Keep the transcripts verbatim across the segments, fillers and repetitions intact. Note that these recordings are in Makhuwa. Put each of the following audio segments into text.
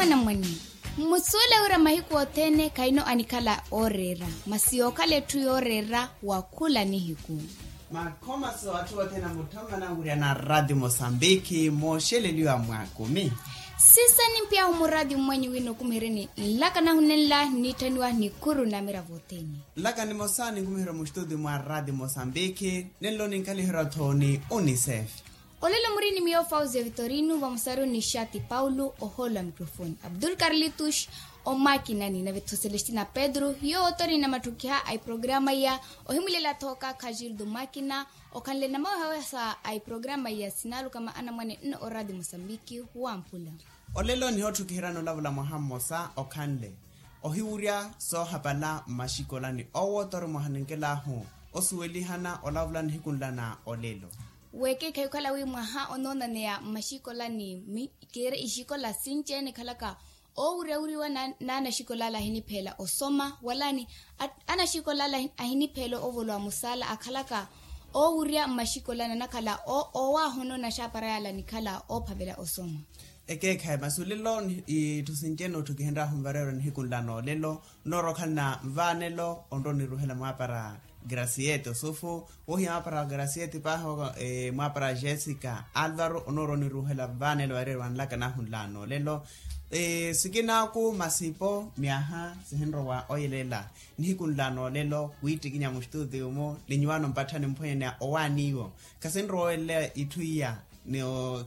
Anamwane, mmusuwele wira mahiku othene khayino anikhala ooreera, masi yookhala etthu yooreera wa khula nihiku. Makhomaso atthu othene amutthomana wira na rati mosambiki mooxeleliwa mwa kumi. Sisa nimpyahu murati mmwenyu wino kumihereni nlaka nahu nenla niitthaniwa nikhuru na miravo othene. Nlaka nimosa ninkumiherya muxituti mwa rati mosambiki, nenlo ninkaliherya-tho ni unicef. Olelo muri ni miyo fausia vitorino vamosaru ni xati paulo ohoolo a microfoni abdul carlitus, omakinani nave-tho celestina pedro hiyo otori namatthukiha a iprograma iya. Ohimulela-tho kaakha gildo makina, okhanle namawehawehasa a iprograma iya sinalukama anamwane nno orati mosambiki. Wamphula. Olelo nihootthukiheryani olavula mwaha mmosa okhanle ohiwurya soohapala mmaxikolani owo otori mwaha ninkelahu osuwelihana olavula nihiku nla na olelo. Weekeekhayi okhala wi mwaha onoonaneya mmaxikolani, kiire ixikola sinci-ene ekhalaka oowurya wuriwa n'anaxikola ala ahinipheela osoma wala ni anaxikola ala ahinipheela ovolowa musaala akhalaka oowurya mmaxikolani anakhala owaahonona axaapara yaala anikhala oophavela osoma. Ekeekhayi masi olelo itthu sinci-ene otthukihenryahu nvareerwa nihiku nla noolelo, nnoorowa okhala na nvaanelo onrowa oniruuhela mwaapara grasiete osufu, wohiya mwaapara grasiete paahi mwaapara jessica alvaro onoorowa oniruuhela vaanelo vareeriwa nlaka nahu nla noolelo. Sikinaaku masipo myaha sihinrowa oyelela nihiku nla noolelo, wiittikinya muxituutiyu-mu linyuwaano mpatthani mphwenyeneya owaani iwo. Khasinrowa oyelela itthu iya.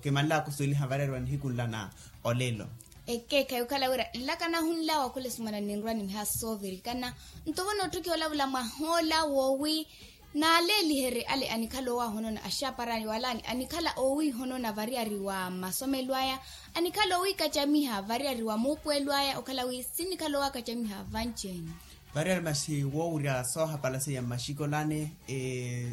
Kimanlaka osuweliha vareeriwa nihiku nla na olelo. Ekeekhayi okhala wira nlaka nahu nla wakhula esumana ninrwa nimihasa soovirikana. Nto vo nootthukiha olavula mwahoola woowi naaleeliherye ale anikhala owaahonona axaapara wala anikhala owiihonona variyari wa masomelo aya, anikhala owiikacamiha variyari wa muupuwelo aya okhala wi sinikhala owaakacamiha vanci-ene. Variyari masi woowurya soohapala seiya mmaxikolani.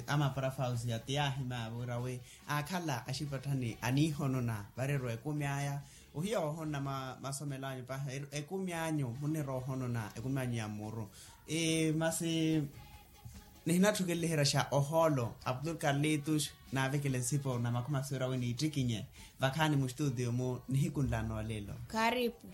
Amapara fausia ti yaahimya virawe aakhala axipatthani aniihonona vareeriwa ekumi aya. Ohiya woohonona masomelo anyu paahi ekumi anyu munnirowa ohonona ekumi anyu ya mmuru. Masi nihinatthukeleliheryaxa ohoolo abdul carlitus naavekele nsipo na makhomaso wira wi niittikinye vakhaani muxituutiyu-mu nihiku nla noolelo. Karipu.